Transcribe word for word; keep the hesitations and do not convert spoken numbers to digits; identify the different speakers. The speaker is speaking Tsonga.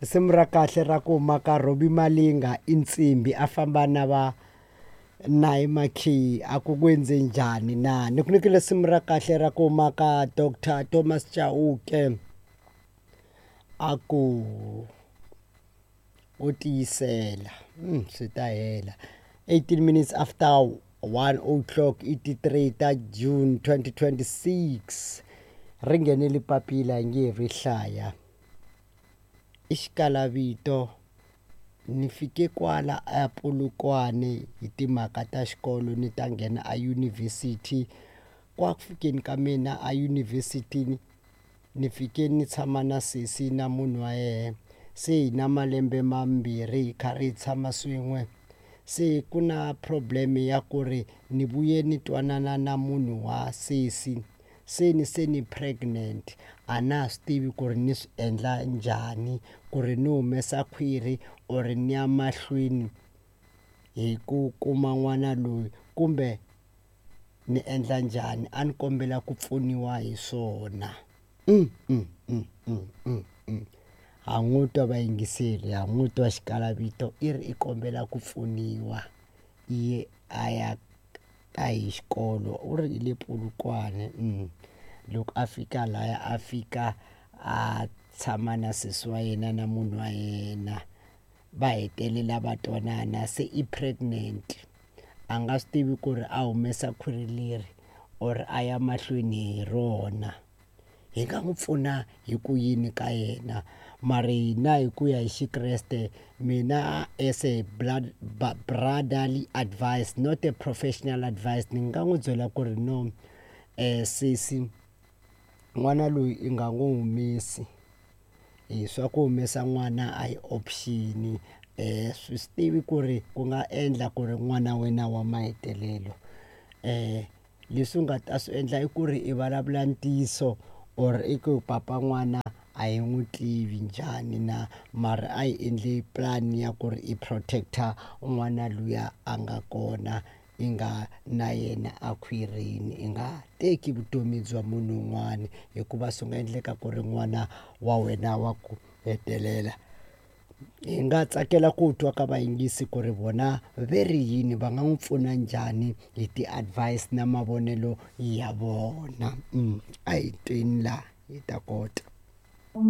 Speaker 1: Risimu ra kahle ra ku maka Robbie Malinga i nsimbi a famba na va Nayi Makhiyi a ku ku endze njhani na ni ku nyikile risimu ra kahle ra ku maka Doctor Thomas Chauke a ku u tiyisela mm, swi ta hela eighteen minutes after one o'clock i ti three ta June twenty twenty-six ri nghenele papila hi nge ri hlaya i xikalavito ni fike kwala a Polokwane hi timhaka ta xikolo ni ta nghena a yunivhesiti kwa ku fikeni ka mina a yunivhesiti ni fike ni tshama na sesi na munhu wa yena se hi na malembe mambirhi hi karhi hi tshama swin'we se ku na problem ya ku ri ni vuye ni twanana na munhu wa sesi se ni se ni pregnant a na ha swi tivi ku ri ni swi endla njhani ku ri ni humesa khwiri or ni ya mahlweni hi ku kuma n'wana loyi kumbe ni endla njhani a ni kombela ku pfuniwa hi swona mm, mm, mm, mm, mm, mm. Ha n'wi twa vayingiseri ha n'wi twa xikalavito i ri i kombela ku pfuniwa i ye a ya ta hi xikolo u ri hi le Polokwane mm. Loko a fika laya a fika a tshama na sesi wa yena na munhu wa yena va hetelela va twanana se i pregnant a nga swi tivi ku ri a humesa khwiri leri or a ya mahlweni hi rona hi nga n'wi pfuna hi ku yini ka yena mara hina hi ku ya hi xikreste mina as a blood brotherly advice not a professional advice ni nga n'wi byela ku ri no um sesi n'wana loyi i nga n'wi humesi hi swa ku humesa n'wana a hi option um swi swi tivi ku ri ku nga endla ku ri n'wana wena wa mahetelelo um leswi u nga ta swi endla i ku ri i vulavula ntiyiso or i ku papa n'wana a hi n'wi tivi njhani na mara a hi endli plan ya ku ri i protect-a n'wana luya a nga kona i nga na yena a khwirini i nga teki vutomi bya munhu un'wana hikuva swi nga endleka ku ri n'wana wa wena wa ku hetelela hi nga tsakela ku twa ka vayingisi ku ri vona ve ri yini va nga n'wi pfuna njhani hi ti-advice na mavonelo ya vona mm, a hi tweni la hi ta kota.